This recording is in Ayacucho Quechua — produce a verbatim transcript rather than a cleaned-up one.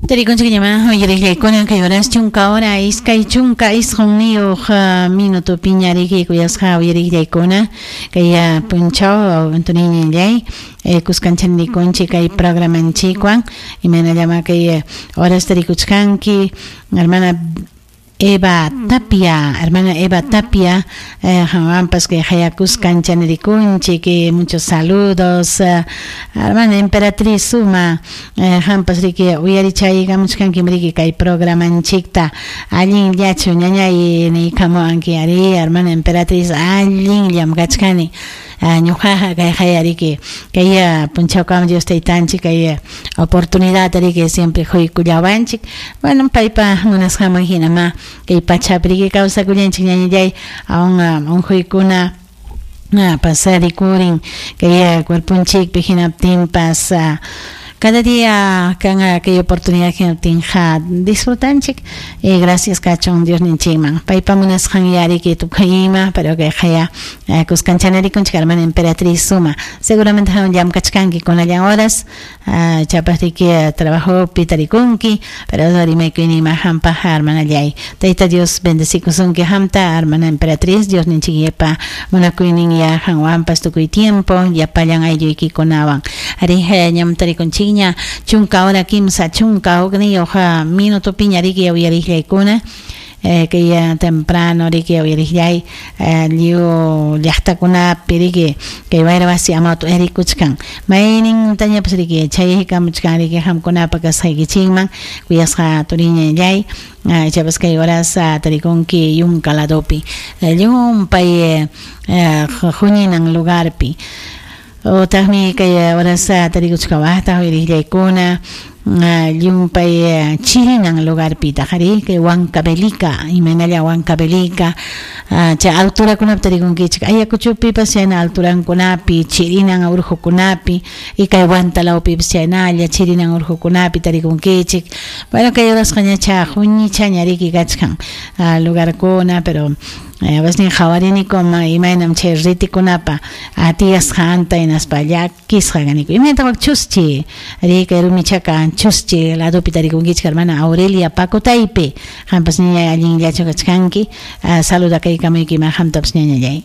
Tarikunchik uyariqllaykuna kay horas chunka hora iskay chunka isqunniyuq minuto piñariki kuyasqa uyariqllaykuna kay punchaw Antoniñallay kuskanchanikunchik kay programanchikwan imaynallama kay horas tarikuchkanki hermana Eva Tapia, hermana Eva Tapia, qanwanpas kay hayakusqanchanirikunchik, que muchos saludos, eh, hermana Emperatriz Suma, qampas riki uyarichaykamuchkankim riki kay programanchikta, allinllachu ñañay niykamuwanki ari, hermana Emperatriz, allinllam kachkani. Ñuqaqa kay hayariki kay punchawkama Dios taytanchik kay oportunidad riki siempre quykullawanchik, bueno paypa munasqanman hinama kay pachapi riki kawsakullanchik ñañallay aun unquykuna pasarikurin kay cuerponchikpi hinaptinpas cada día kan kay oportunidad hinaptinqa disfrutanchik y gracias kachun Dios ninchikman paypa munasqan yariki tukuyima pero kay haya kuskanchanarikunchik hermana Emperatriz Suma seguramente hawan llamkachkanki kunallan horas chapasriki trabajopi tarikunki pero rimaykuyninma hampaq hermanallay Tayta Dios bendecikusunki hamta hermana Emperatriz Dios ninchikyepa munakuynin ya hanwanpas tukuy tiempo llapallan aylluykikunawan ari ñam tarikunchik chunka hora kimsa chunka hukniyuq minuto piñariki uyariqllaykuna kay temprano riki uyariqllay lliw llaqtakunapi riki kay wayra wasi amawtu erikuchkan maynintañapas riki chaykamuchkan riki qamkunapa kasqaykichikman kuyasqa turiñallay ichapas kay horas tarikunki yunka ladopi llumpay huñinan lugarpi otaqmi kay horas tarikuchkawaqtaq uyariqllaykuna llumpay chirinan lugarpitaq ari kay Huancavelica imaynalla Huancavelica chay alturakunapi tarikunkichik Ayacuchopipas chayna alturankunapi chirinan urqukunapi y kay Huantalawpipas chaynalla chirinan urqukunapi tarikunkichik bueno kay horasqa ñacha huñichaña riki kachkan lugarkuna pero Basnin qhawariniku imaynam chay ritikunapa tiyasqanta hinaspa llakisqa kaniku imaynataq wak chuschi ari kay rumichaka chuschi ladopi tarikunkichik hermana Aurelia Pacotaypi qampas ñañay allinllachu kachkanki saludakaykamuyki qamtapas ñañallay.